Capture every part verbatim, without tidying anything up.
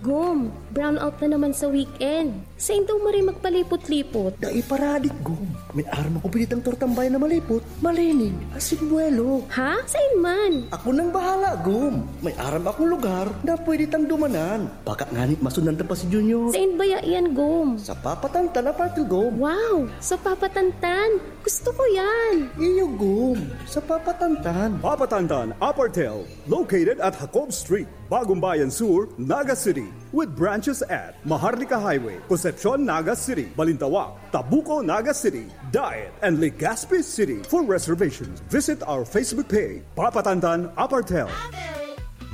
Gom, brownout na naman sa weekend. Sain daw maray magpalipot-lipot? Dai paradik, Gom. May aram akong pinitang tortang bayan na malipot, malinig, asin buwelo. Ha? Sain man? Ako nang bahala, Gom. May aram akong lugar na pwede tang dumanan. Baka ngani masundan ta pa si Junior. Sain baya yan, Gom? Sa Papa Tantan Apartel, Gom. Wow! Sa Papa Tantan? Gusto ko yan! Iyo, Gom. Sa Papa Tantan. Papa Tantan Apartel, located at Jacob Street, Bagumbayan Sur, Naga City, with branches at Maharlika Highway, Concepcion, Naga City, Balintawak, Tabuco, Naga City, Daet, and Legazpi City. For reservations, visit our Facebook page, Papa Tantan Apartel.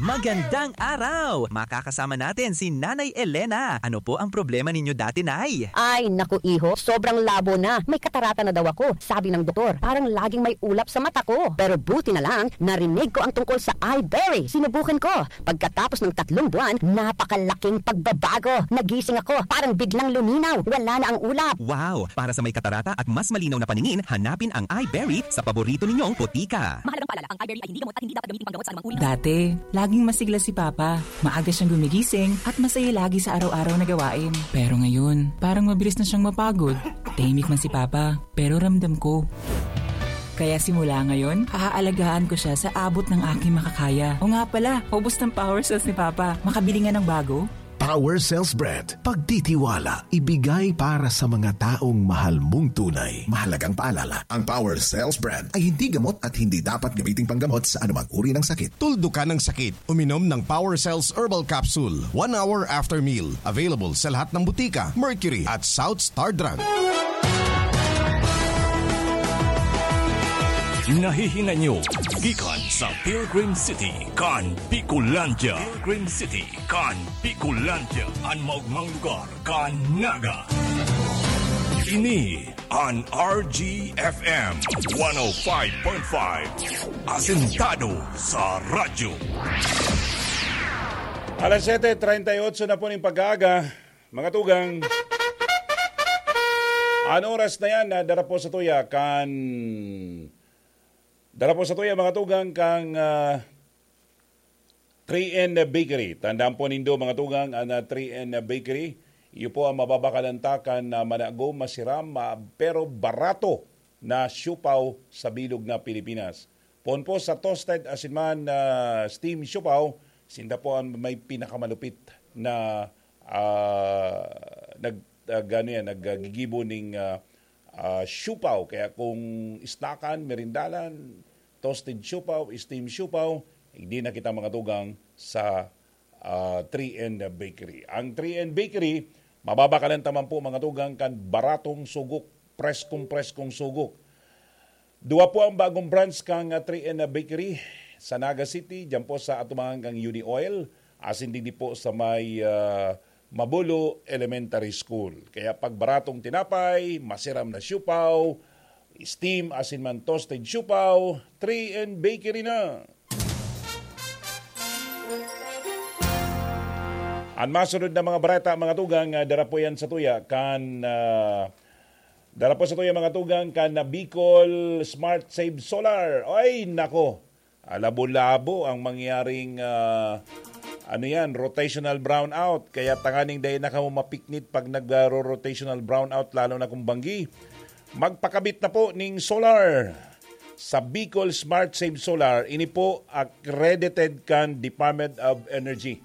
Magandang araw! Makakasama natin si Nanay Elena. Ano po ang problema ninyo dati, Nay? Ay, naku, iho, sobrang labo na. May katarata na daw ako, sabi ng doktor. Parang laging may ulap sa mata ko. Pero buti na lang, narinig ko ang tungkol sa Iberry. Sinubukan ko. Pagkatapos ng tatlong buwan, napakalaking pagbabago. Nagising ako, parang biglang luminaw. Wala na ang ulap. Wow! Para sa may katarata at mas malinaw na paningin, hanapin ang Iberry sa paborito ninyong botika. Mahalagang paalala, ang Iberry ay hindi gamot at hindi dapat gamitin panggamot sa anumang uri ng Dati, laging masigla si Papa. Maaga siyang gumigising at masaya lagi sa araw-araw na gawain. Pero ngayon, parang mabilis na siyang mapagod. Tahimik man si Papa, pero ramdam ko. Kaya simula ngayon, aaalagaan ko siya sa abot ng aking makakaya. O nga pala, ubos ng power cells ni Papa. Makabili nga ng bago? Power Cells Brand. Pagtitiwala, ibigay para sa mga taong mahal mong tunay. Mahalagang paalala, ang Power Cells Brand ay hindi gamot at hindi dapat gamiting panggamot sa anumang uri ng sakit. Tuldukan ang sakit. Uminom ng Power Cells Herbal Capsule one hour after meal. Available sa lahat ng butika, Mercury at South Star Drug. Nahihinay nyo gikan sa Pilgrim City kan Bicolandia. Pilgrim City kan Bicolandia, an maogmang lugar kan Naga. Ini an R G F M one oh five point five, asentado sa radyo. Alas siyete treinta y ocho na po ning pag-aaga, mga tugang. An oras na yan, ah, dara po sa tuya kan, dara po sa tuya, mga tugang, kang, ah, three N Bakery. Tandaan po nindo, mga tugang, an, ah, three N Bakery, iyo po ang mababakalan ta kan, ah, managom, masiram, ma-, pero barato na siopao sa bilog na Pilipinas. Poon po sa toasted asin man, ah, steam siopao, sinda po ang may pinakamalupit na, ah, nag-, ah, gano yan, naggigibo ning, ah, ah, siopao. Kaya kung snackan, merindalan, toasted siopao, steam siopao, hindi na kita, mga tugang, sa, ah, three N Bakery. Ang three N Bakery, mababakalan ta man po, mga tugang, kan baratong sugok, preskong-preskong sugok. Duwa po ang bagong branch kan, ah, three N Bakery sa Naga City, diyan po sa atubangan kan Uni Oil, asin digdi po sa may, ah, Mabulo Elementary School. Kaya pag baratong tinapay, masiram na siopao, steam asin man toasted siopao, three N Bakery na. An masunod na mga bareta, mga tugang, ah, dara po yan sa tuya kan, ah, dara po sa tuya, mga tugang, kan, ah, Bicol Smart Save Solar. Ay, nako. Ah, labo-labo ang mangyaring, ah, ano yan, rotational brownout. Kaya tanganing dai na kamo mapiknit pag nag-ro-rotational brownout, lalo na kung banggi. Magpakabit na po ning solar sa Bicol Smart Save Solar. Ini po accredited kan Department of Energy.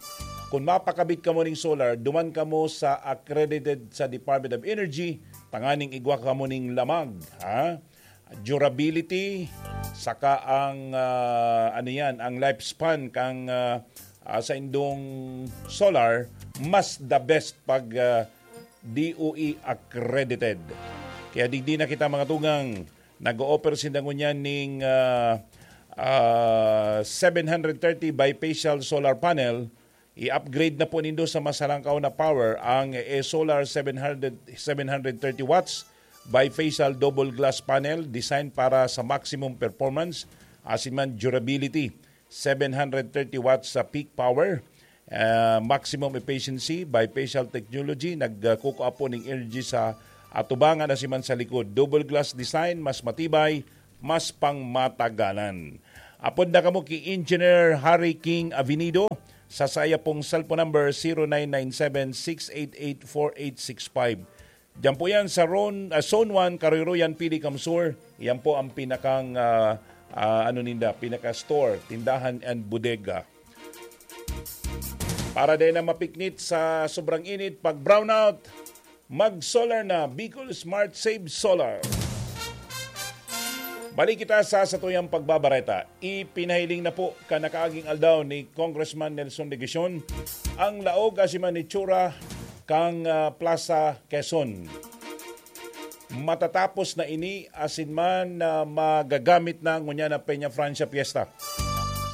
Kung mapakabit kamo ning solar, duman kamo sa accredited sa Department of Energy, tanganing igwa kamo ning lamag, ha? Durability, saka ang, ah, ano yan, ang lifespan kang, ah, ah, sa indong solar, mas the best pag, ah, D O E accredited. Kaya digdi na kita, mga tugang, nag-o-offer sinda ngunyan ning, ah, ah, seven hundred thirty bifacial solar panel. I-upgrade na po nindo sa mas halangkaw na power ang E-Solar seven hundred, seven hundred thirty watts bifacial double glass panel, designed para sa maximum performance, asin man durability. Seven hundred thirty watts sa peak power, ah, maximum efficiency, bifacial technology, nagkukuha po ning energy sa atubangan asin man sa likod. Double glass design, mas matibay, mas pangmatagalan. Apod na kamo ki Engineer Harry King Avenido, sa saya pong cellphone number, zero nine nine seven, six eight eight, four eight six five. Diyan po yan sa Ron, ah, Zone one, Karoyroyan, Pili, Kamsur. Yan po ang pinakang, ah, ah, ano ninda, pinaka-store, tindahan and bodega. Para din na mapiknit sa sobrang init, pag brownout, mag-solar na, Bicol Smart Save Solar. Balik kita sa satuyang pagbabareta. Ipinahiling na po kan nakaaging aldaw ni Congressman Nelson Legacion ang laog asin man itsura kan, ah, Plaza Quezon. Matatapos na ini asin man, ah, magagamit na ngunyan na Peña Francia Fiesta.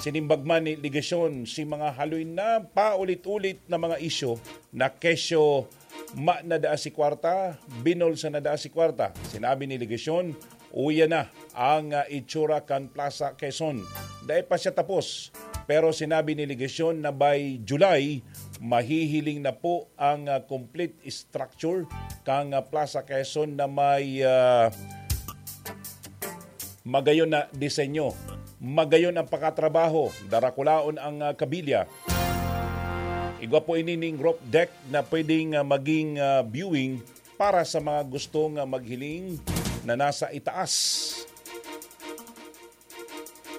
Sinimbag man ni Legacion si mga haloy na paulit-ulit na mga isyu na kesyo ma na daa si kwarta, binolsa na daa si kwarta. Sinabi ni Legacion, uya na ang, ah, itsura kan Plaza Quezon. Dai pa siya tapos, pero sinabi ni Legacion na by July, mahihiling na po ang, ah, complete structure kan, ah, Plaza Quezon na may, ah, magayon na disenyo, magayon ang pakatrabaho, darakulaon ang, ah, kabilya. Igwa po ini ning roof deck na pwedeng, ah, maging, ah, viewing para sa mga gustong, ah, maghiling na nasa itaas.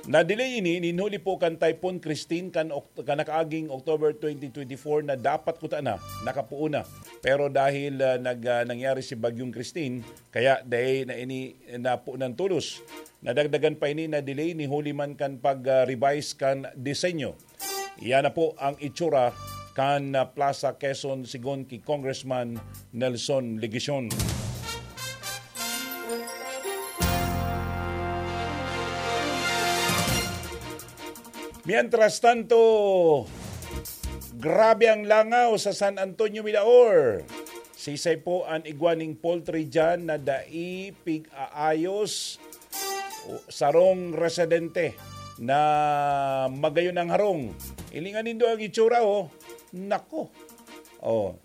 Na-delay ini nin huli po kan Typhoon Christine kan Oct-, kan nakaaging October twenty twenty-four na dapat kuta na, nakapoon na. Pero dahil, ah, nag-, ah, nangyari si Bagyong Christine, kaya dai na ini napoon tolos. Nadagdagan pa ini na delay ni huli man kan pag, ah, revise kan disenyo. Iyan na po ang itsura kan, ah, Plaza Quezon sigon ki Congressman Nelson Legacion. Mientras tanto, grabe ang langaw sa San Antonio, Milaor. Sisay po an igwa ning poultry diyan na dai pig-aayos, o sarong residente na magayon ang harong. Hilinga nindo ang itsura, oh. Nako. Oh.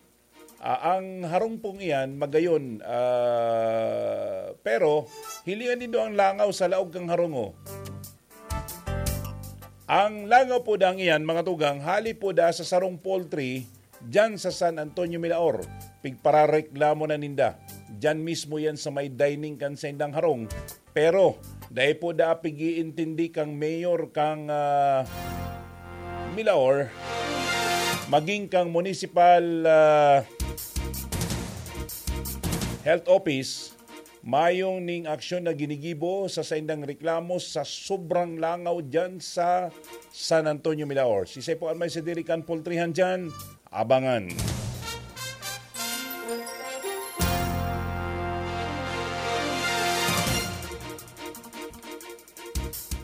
Ah, ang harong pong iyan, magayon. Ah, pero, hilinga nindo ang langaw sa laog kang harong, oh. Ang langaw po dang iyan, mga tugang, hali po da sa sarong poultry, diyan sa San Antonio, Milaor. Pigparareklamo na ninda. Diyan mismo yan sa may dining kan saindang harong. Pero, dai po da pig-iintindi kang mayor kang, ah, Milaor, maging kang municipal, ah, health office, mayong ning aksyon na ginigibo sa saindang reklamo sa sobrang langaw diyan sa San Antonio, Milaor. Sisay po an may sadiri kan pultrihan diyan? Abangan.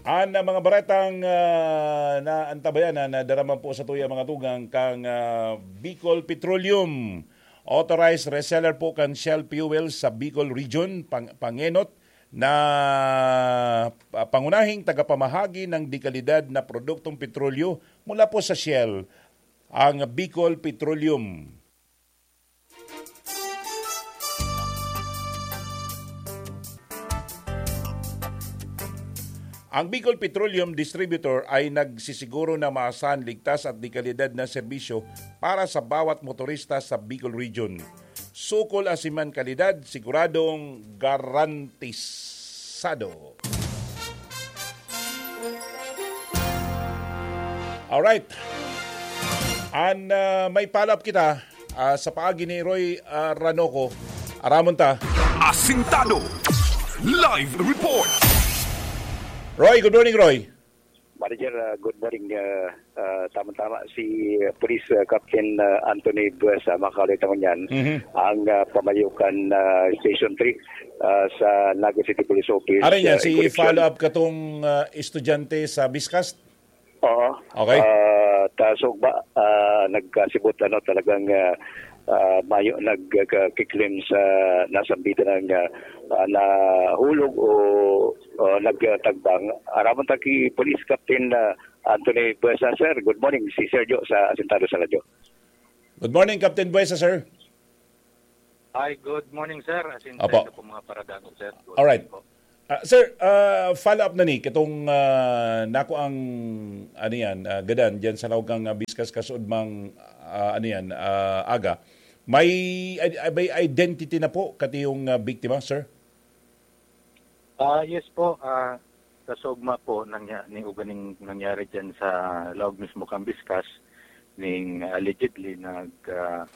An, ah, mga baretang, ah, naantabayan na, nadarama po sa tuya, mga tugang, kang, ah, Bicol Petroleum. Authorized reseller po kan Shell Fuel sa Bicol Region, pang-, pangenot na, ah, pangunahing tagapamahagi ng dekalidad na produktong petrolyo mula po sa Shell, ang Bicol Petroleum. Ang Bicol Petroleum Distributor ay nagsisiguro na maasahan, ligtas at dekalidad na serbisyo para sa bawat motorista sa Bicol Region. Sukol asin man kalidad, siguradong garantisado. Alright. An, ah, may follow-up kita, ah, sa paagi ni Roy, ah, Ranoco. Aramon ta. Asintado. Live report. Roy, good morning, Roy. Manager, ah, good morning. Ah, ah, tama-tama si, ah, Police, ah, Captain, ah, Anthony Buesa, makakalit ako niyan. Mhm. Ang, ah, pamayo kan, ah, Station three, ah, sa Naga City Police Office, Aray niya, ah, si in connection follow-up katong, ah, estudyante sa Biscast? Oo. Okay. Ah, ta sugba, ah, nagkasibot, ano, talagang, ah, ah, mayo nagkakiklim sa nasambitan ng, ah, ah, nahulog o, o nagtagbang. Aramon ta ki Police Captain, ah, Anthony Buesa, sir. Good morning, si Sergio sa Asintado sa Radyo. Good morning, Captain Buesa, sir. Hi, good morning, sir. Asintado Opo. po, mga paradago, sir. Good Alright. morning po. Ah, sir, ah, follow up na ni katong, ah, nako ang, ano yan, ah, gadan dyan sa laog kang, ah, Biskas kasudmang, ah, ano yan, ah, aga. May, ay, ay, may identity na po kati yung, ah, biktima, sir? Ah, yes po, ah, kasugma po nangya, ni uganing nangyari dyan sa laog mismo kang Biskas, ning allegedly nag, ah,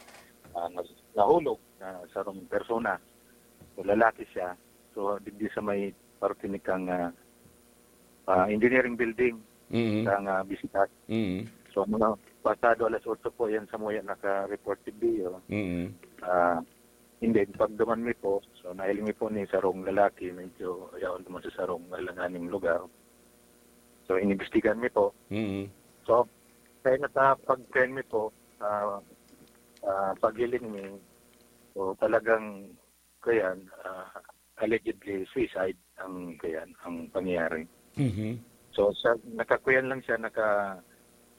ah, nag- nahulog na sarong persona. So, lalaki siya. So, digdi sa may parte ni kang, ah, ah, engineering building Mm. sa nga Biskas. Mm. So, mga pasado alas otso po yan sa muya naka-report si Bio. Mm. Ah, hindi, pagduman mi po, so nahiling mi po ni sarong lalaki, medyo yaon duman sa sarong alanganing lugar. So, inimbestigan mi po. Mm. So, kaya na sa pag-train mi po, ah, ah, paghiling mi, so talagang, kaya, ah, allegedly suicide ang, kaya, ang pangyayari. Mhm. So, sa, nakakuyan lang siya, naka,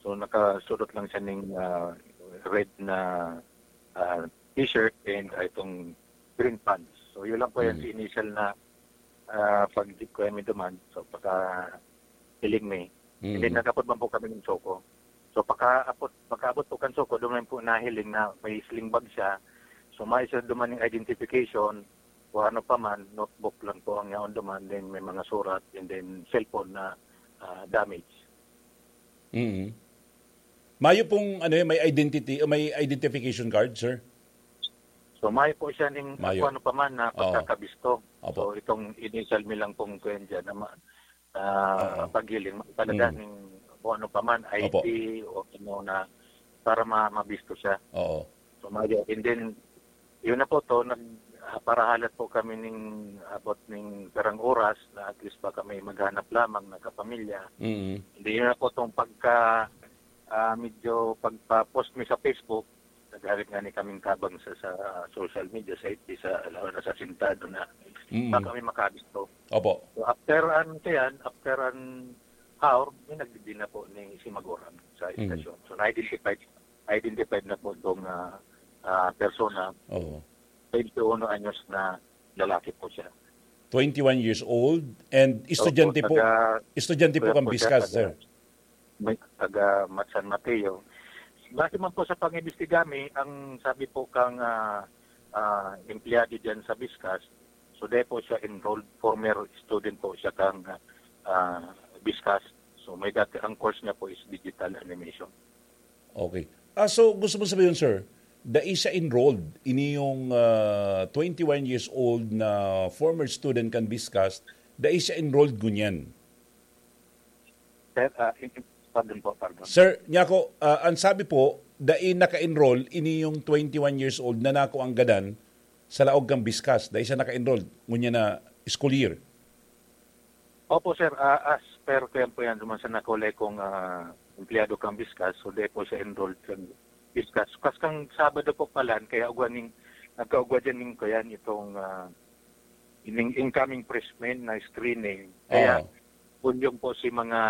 so nakasulot lang siya ning, ah, red na, ah, t-shirt and, ah, itong green pants. So, yun lang po yan Mm. sa initial na, ah, pag-kuya mi duman. So, paka hiling mi. And then, Mm. nagapod man po kami ng Choco. So, pakaabot, pakaabot po kan Choco, duman po nahiling na may sling bag siya. So, may siya duman yung identification, o ano pa man, notebook lang po ang yaon duman, then may mga surat, and then cellphone na, ah, damage. Mm. Mayo pong, ano, eh, may identity, may identification card, sir? So, mayo po siya ning Mayo. Kung ano pa man na Oo. pagkakabisto. Opo. So, itong initial mi lang pong kuyan dyan na ma- ah, Oo. paghiling, talaga Mm. ning kung ano pa man, I D Opo. o ano na, para ma- mabisto siya. Oo. So, mayo. And then, yun na po to, nag, ah, parahalat po kami ning abot ning karang oras na at least pa kami maghanap lamang, nagkapamilya. Mm. Hindi yun na po tong pagka, ah, medyo pagpa-post mi sa Facebook, nagharit nga ni kaming tabang sa, sa social media, sa F B, sa, lalo na sa sentado na Mm. pa kami makabisto. Opo. So, after an, kaya, after an hour, may nagdidina po ni si Maguram sa Mm. istasyon. So, na-identified, identified na po itong, ah, ah, persona, Oo. twenty-one anyos na lalaki po siya. Twenty-one years old and estudyante Opo, po. taga- Estudyante po Kaya kang po siya, Biskas, taga- sir. May taga San Mateo. Base man po sa pag-imbestiga mi, ang sabi po kang, ah, ah, empleyado dyan sa Biskas, so, di po siya enrolled, former student po siya kang, ah, Biskas. So, may dati, ang course niya po is digital animation. Okay. Ah, so, gusto mo sabihin, sir, dai siya enrolled, ini yung, ah, twenty-one years old na former student kan Biskas, dai siya enrolled ngunyan. Sir, ah, in- in- pardon po, pardon. Sir, Nyako, ah, ang sabi po, dai naka-enroll, ini yung twenty-one years old na nako ang gadan sa laog kang Biskas, dai siya naka-enroll, ngunyan na school year. Opo, sir. Ah, as per ko yan po yan, duman sa nakulay kong, ah, empleyado kang Biskas, so di po siya enrolled sa Biskas. Kas kang Sabado po pala, kaya ugwa ning, nagkaugwa dyan ning, kaya itong, ah, ining incoming freshmen na screening. Kaya, Oo. pulyong po si mga,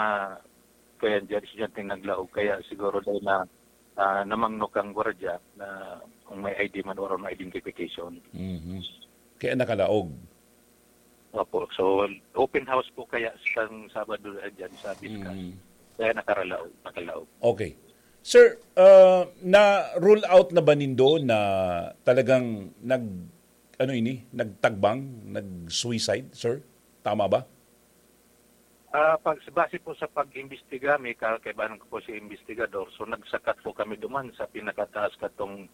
kaya dyan, estudyanteng naglaog. Kaya siguro dahil na, ah, namangno kang gwardiya na kung may I D man or may identification. Mhm. Kaya nakalaog. Opo. So, open house po kaya sa Sabado, ah, dyan sa Biskas. Mm. Kaya nakaralaog, nakalaog. Okay. Sir, ah, na-rule out na ba nindo na talagang nag, ano ini, nagtagbang, nag-suicide, sir? Tama ba? Ah, pag, base po sa pag-imbestiga, may ka-, kaibahan ko po si investigador. So, nagsakat po kami duman sa pinakataas katong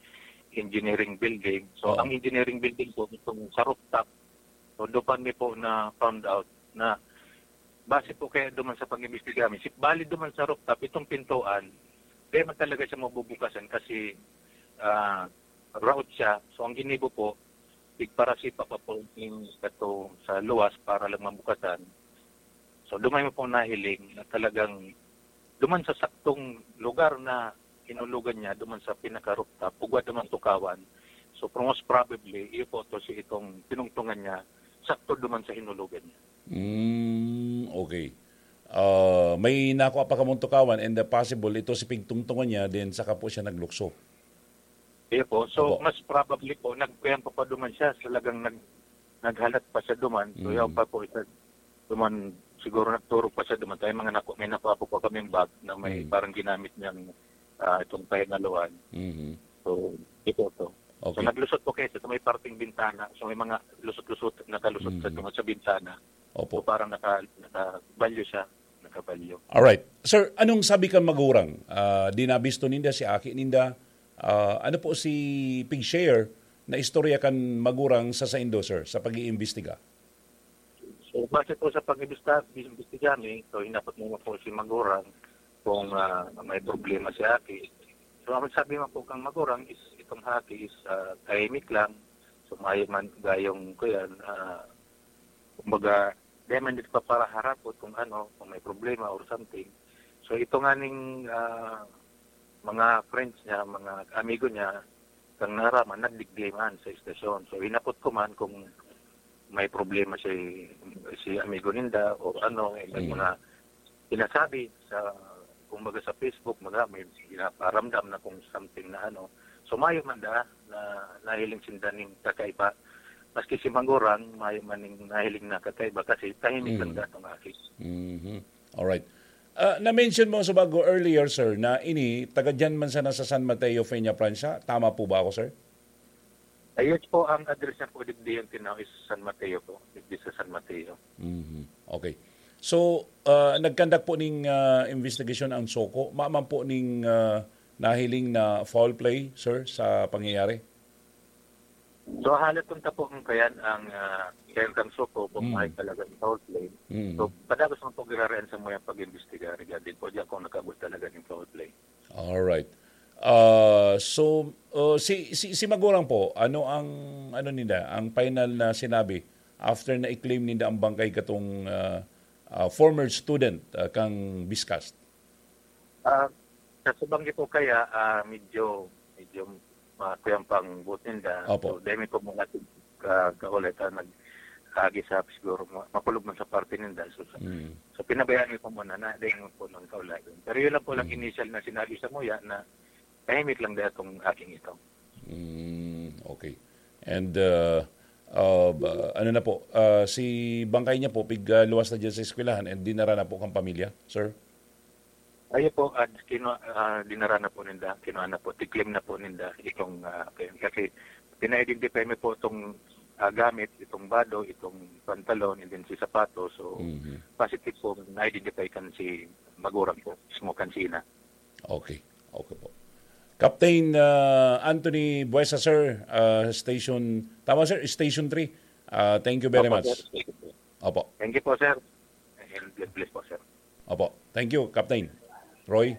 engineering building. So, Oo. Ang engineering building po, itong sa rooftop, so, doon pa mi po na found out na base po kaya duman sa pag-imbestiga mi, si, bali duman sa rooftop, itong pintuan, di man talaga siya mabubukasan kasi, ah, route siya. So, ang ginibo po, tigparasipa pa po yung kato sa luwas para lang mabukasan. So, dumay mo pong nahiling na talagang duman sa saktong lugar na hinulogan niya, duman sa pinaka-rooftop, ugwa duman tukawan. So, most probably, iyo po to si itong tinungtungan niya, sakto duman sa hinulogan niya. Mm, okay. Ah, may nakuha pa kamong tukawan and the possible, ito si pigtungtungan niya, then saka po siya naglukso. Iyo po. So, Opo. Mas probably po, nagkuyan pa pa duman siya, talagang nag, naghalat pa siya duman. So, Mm. yaw pa po isa, Duman, siguro nagturog pa siya, duman tayo mga naku-, may nakuha po pa kaming bag na may Mm. parang ginamit niyang, ah, itong pahingaluan. Mhm. So, ito to. So, Okay. naglusot po kayo sa may parting bintana. So, may mga lusot-lusot, nakalusot sa Mhm. tungod sa bintana. Opo. So, parang naka-, nakabalyo siya. Nakabalyo. Alright. Sir, anong sabi kan magurang? Ah, di nabisto ninda si aki ninda. Ah, ano po si pig-share na istorya kan magurang sa saindo, sir, sa pag-iimbestiga? So, base po sa pag-imbestiga, imbestiga mi, so hinapot mo po si magurang kung, ah, may problema si aki. So, ang sabi mo po kang magurang is, itong aki is, ah, tahimik lang. So, mayo man gayong, kuyan, ah, kumbaga, di man dito paparaharapot kung ano, kung may problema or something. So, ito nga ning, ah, mga friends niya, mga amigo niya, kang naraman, nagdigdi man sa estasyon. So, hinapot ko man kung may problema si, si amigo ninda o ano, eh, may Mm. mga sinasabi sa, kumbaga sa Facebook, mga may pinaparamdam na kung something na ano. So, mayo man da na nahiling sinda ning kakaiba. Maski si Mangurang, mayo man ning nahiling na kakaiba kasi tahimik lang Mm. da tong aki. Mhm. Alright. Ah, na-mention mo sa bago earlier, sir, na ini, taga dyan man sana sa San Mateo, Peña, Francia. Tama po ba ako, sir? Ah, yes po, ang address niya po, digdi yung tinaw is San Mateo po. Digdi sa San Mateo. Mhm. Okay. So, ah, nagkandak po ning, ah, investigation ang SOCO. Maaman po ning, ah, nahiling na foul play, sir, sa pangyayari? So, halat kung tapo ang kayan ang, ah, kayan kang SOCO kung Mm. may talaga yung foul play. Mm. So, padagos man po girarayan sa mga pag-imbestiga regarding po diyan kung nakabot talaga yung foul play. Alright. Ah, so, oh, si, si, si Magurang po, ano ang, ano nila, ang final na sinabi after na i-claim ninda ang bangkay katong, ah, ah, former student, ah, kang Biscast? Ah, sa subang po kaya, ah, medyo, medyo makuyang pang buot ninda. Opo. So, dahil po mga ka-, kaulay ka nag-agi sa siguro ma-, makulog man sa parte ninda. So, sa, Mm. so, pinabayaan ko muna na, dahil po nang kaulay. Pero yun lang po lang Mm. initial na sinabi sa muya na tahimik lang dahil itong aking ito. Mm, okay. And, uh, uh, ba-, ano na po, uh, si bangkay niya po, pig, uh, luwas na dyan sa eskwelahan and dinara na po kang pamilya, sir? Ayo po, at kinu-, ah, dinara na po ninda, kinuha na po, tiklim na po ninda itong, ah, kayan. Kasi pina-identify mo po itong, ah, gamit, itong bado, itong pantalon, and then si sapatos. So, Mhm. positive po, na-identify kan si Magurang po, mismo kan si ina. Okay. Okay po. Captain, ah, Anthony Buesa, sir, ah, station, tama, sir, station three. Ah, thank you very Opo, much. Sir. Opo. Thank you po, sir. And God bless po, sir. Opo. Thank you, Captain. Roy?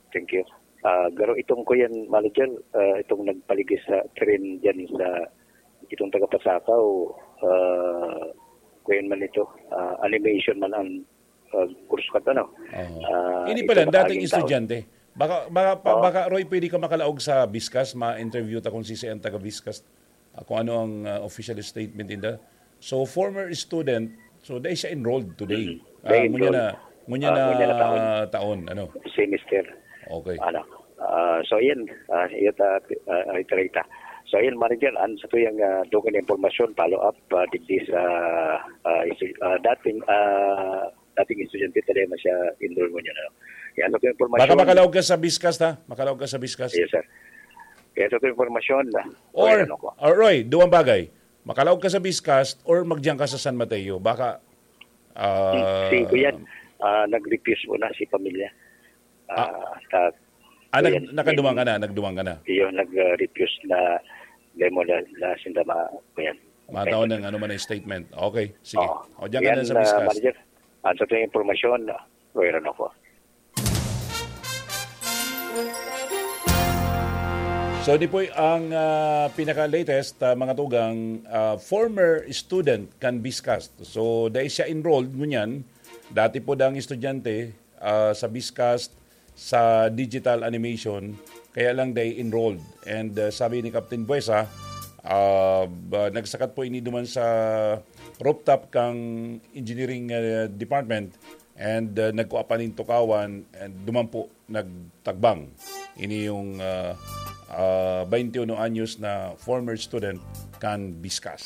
Thank you. Ah, garo itong kuyan, manager, ah, itong nagpaligis sa tren dyan sa itong taga-Pasakaw, ah, kuyan man ito, ah, animation man ang, ah, kurso ka, ano? Oo. Ah, Ini ito pala, ang dating naging taon. Estudyante. Baka, baka, pa-, Oo. baka, Roy, pwede ka makalaog sa Biskas, ma-interview ta kung sisi ang taga-Biskas. Ah, kung ano ang, ah, official statement ninda. So, former student, so, dai siya enrolled today. Mm. Ah, Dai ngunyan enrolled. na, ngunyan Ah, na ngunyan na taon. taon, ano? Semester. Okay. Ano? Ah, so, yan. Ah, iyot, ah, ah, iterate. So, yan, manager, ang sa tuyang, ah, dugang na impormasyon, follow up, ah, digdi sa, ah, isi-, ah, dating, ah, dating estudyante, talaga na siya enroll ngunyan, ano? Yan, sa tuyang impormasyon. Baka makalaog ka sa Biskas, ha? Makalaog ka sa Biskas. Yes, sir. Kaya sa tuyang impormasyon, ah, Or, ano ko? or Roy, duwang bagay. Makalaog ka sa Biskas or magdiyan ka sa San Mateo. Baka, ah, Si kuyan, ah, nag-refuse muna si pamilya. Ah, Ah. ta-, Ah, nag-, kuyan, nakaduman ka yun, na, nagduman ka na. yun, nag-, ah, refuse na demo na, na sinda ma-, kuyan. Mataon Okay. ng ano man ang statement. Okay, sige. Oo. O, diyan ka Yan, na sa ah, Biskas. Manager. Ang sa tuyang impormasyon, ah, wala na ako. So, di po ang, ah, pinaka-latest, ah, mga tugang, ah, former student kan Biscast. So, dai siya enrolled ngunyan. Dati po dang estudyante, ah, sa Biscast, sa digital animation, kaya lang dai enrolled. And, ah, sabi ni Captain Buesa, ah, ba, nagsakat po ini duman sa rooftop kang engineering, ah, department. And, uh, nagkua pa nin tukawan, and duman po nagtagbang. Ini yung, uh, uh, bainti uno anyos na former student kan Biskas.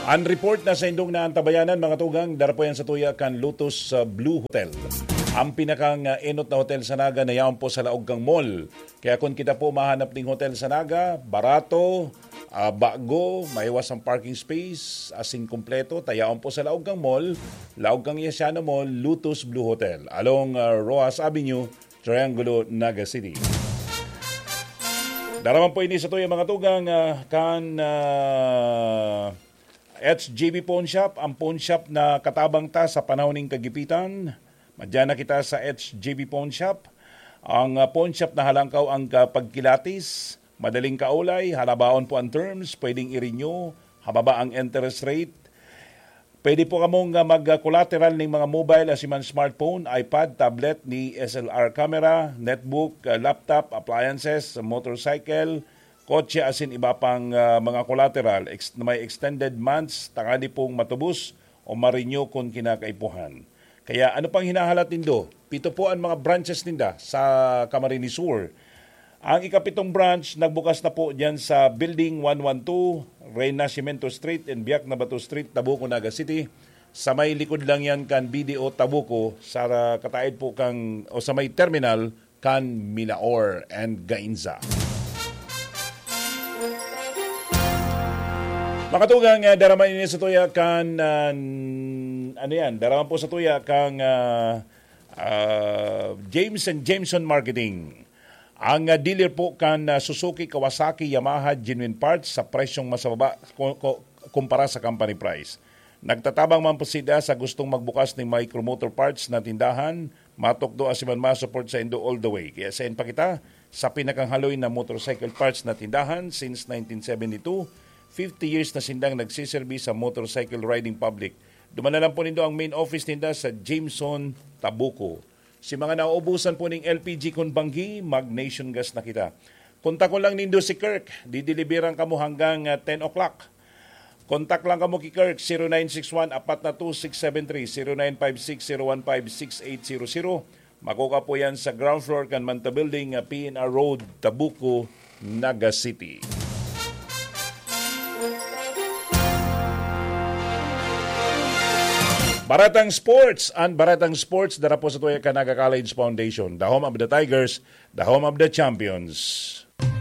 An report na saindong naantabayanan, mga tugang, dara po yan sa tuya kan Lotus, ah, Blue Hotel. Ang pinakang, ah, enot na hotel sa Naga na yaon po sa laog kang mall. Kaya kung kita po mahanap ding hotel sa Naga, barato, ah, bago, maiwas ang parking space, asin kompleto, ta yaon po sa laog kang mall, laog kang Yasiano Mall, Lotus Blue Hotel, along, ah, Roxas Avenue, Triangulo, Naga City. Daraman po ini sa tuya, mga tugang, ah, kan, ah, H J B Pawn Shop, ang pawn shop na katabang ta sa panahon ning kagipitan. Madyan na kita sa H J B Pawn Shop. Ang, ah, pawn shop na halangkaw ang kapagkilatis, madaling kaulay, halabaon po ang terms, pwedeng i-renew, hababa ang interest rate. Pwede po kamong, ah, mag-collateral ning mga mobile, asin man smartphone, iPad, tablet, ni S L R camera, netbook, ah, laptop, appliances, motorcycle, kotse, asin iba pang, ah, mga collateral ex-, na may extended months, tangani pong matubos o ma-renew kun kinakaipuhan. Kaya ano pang hinahalat nindo? Pito po ang mga branches ninda sa Camarines Sur. Ang ikapitong branch nagbukas na po diyan sa Building one one two, Renacimiento Street and Biak na Bato Street, Tabuco, Naga City. Sa may likod lang yan kan B D O Tabuco, sa kataid po kang, o sa may terminal kan Milaor and Gainza. Mga tugang, ah, daraman ini sa tuya kan, ah, n-, ano yan? Daraman po sa tuya kang, ah, ah, James and Jameson Marketing. Ang, ah, dealer po kan, ah, Suzuki, Kawasaki, Yamaha, genuine parts sa presyong mas mababa ko-, ko-, kumpara sa company price. Nagtatabang man po sila sa gustong magbukas ning micromotor parts na tindahan, matukdo asin man ma-support saindo all the way. Kaya sain pa kita sa pinakahaloy na motorcycle parts na tindahan since nineteen seventy-two. Fifty years na sindang nagsiserbi sa motorcycle riding public. Duman na lang po nindo ang main office ninda sa Jameson, Tabuco. Si mga nauubusan po ning L P G kun banggi, mag-Nation Gas na kita. Kontakon lang nindo si Kirk, dideliveran kamo hanggang, ah, ten o'clock. Kontak lang kamo ki Kirk, zero nine six one, apat na two, six seven three, zero nine five six, zero one five, six eight zero zero. Makukuha po yan sa ground floor kan Manta Building, ah, P N R Road, Tabuco, Naga City. Baratang Sports, ang Baratang Sports, dara po sa tuya kan Naga College Foundation, the home of the Tigers, the home of the champions.